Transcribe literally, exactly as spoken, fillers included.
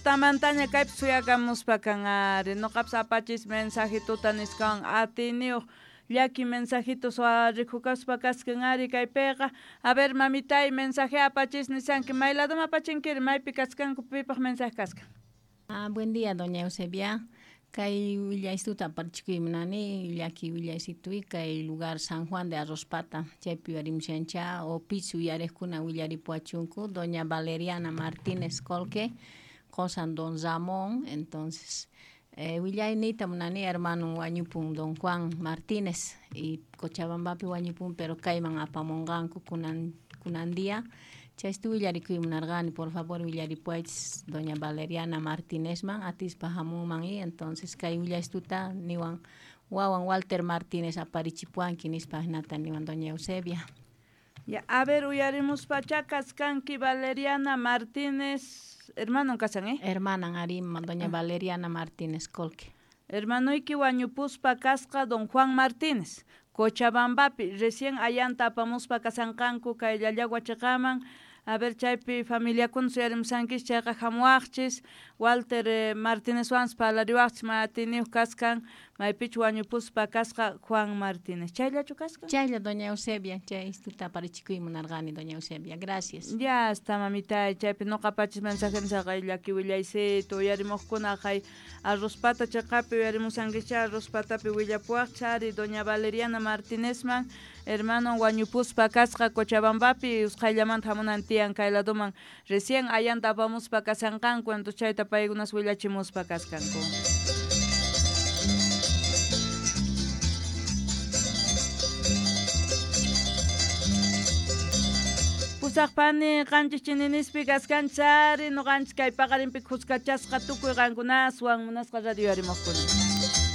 Tutamantaña kaypi suyakamuspa kan ari noqapas apachis mensajituta nisqawan atiyniyuq llaki mensajito rikukaspa kaskan ari kaypiqa. A ver mamitay mensaje apachis nisanki may ladoma apachinkiri maypi kaskanku pipaq mensaje kaskan. Ah, buen día, doña Eusebia. Kay willaystuta aparichikuy munani llaki willaysituy kay lugar San Juan de Arrospata chaypi uyarimushancha o pich uyariqkuna willaripuwachunku doña Valeriana Martínez Colque qosan don Ramón. Entonces eh, willayniyta munani hermano wañupun don Juan Martínez y Cochabambapi wañupun pero kayman apamunqanku kunan kunan día. Chaystu willarikuy munarqani, por favor willaripuwaychis doña Valeriana Martínezman atispa hamunman y entonces kay willaystuta niwan wawan Walter Martínez aparichipuwanki nispa hinata niwan doña Eusebia. Ya, a ver uyarimuspacha kaskanki Valeriana Martínez, hermano kasan, eh? Hermanan arima doña Valeriana Martínez Colque. Hermanoyki wañupuspa kasqa don Juan Martínez. Cochabambapi recién ayanta apamuspa kasanqanku kay Llallagua chiqaman. A ver chaypi familiakuna suyarimusankichis chayqa hamuwaqchis Walter eh, Martínezwanpas parlariwaqchis ma atiyniyuq kaskan maypichu wañupuspa kasqa Juan Martínez. Chayllachu kaskan? Chaylla doña Eusebia, chay istuta aparichikuy munarqani doña Eusebia. Gracias. Ya está mamitay, chaypi noqa pachis mensaje nisqa llaki willaysitu uyarimuqkuna hay Arrospata chiqapi uyarimusankichá Arrospatapi willapuwaqchis ari doña Valeriana Martínezman hermano wañupuspa kasqa Cochabambapi usqhayllamanta hamunan tiyan kay ladoman recién ayanta apamuspa kasanqanku entonces chayta paykunas willachimuspa kaskanku. Pusaqpani qanchis chininispi kaskanchis ari noqanchis kay paqarinpi khuskachasqa tukuy qankunaswan munasqa radio uyarimuqkuna.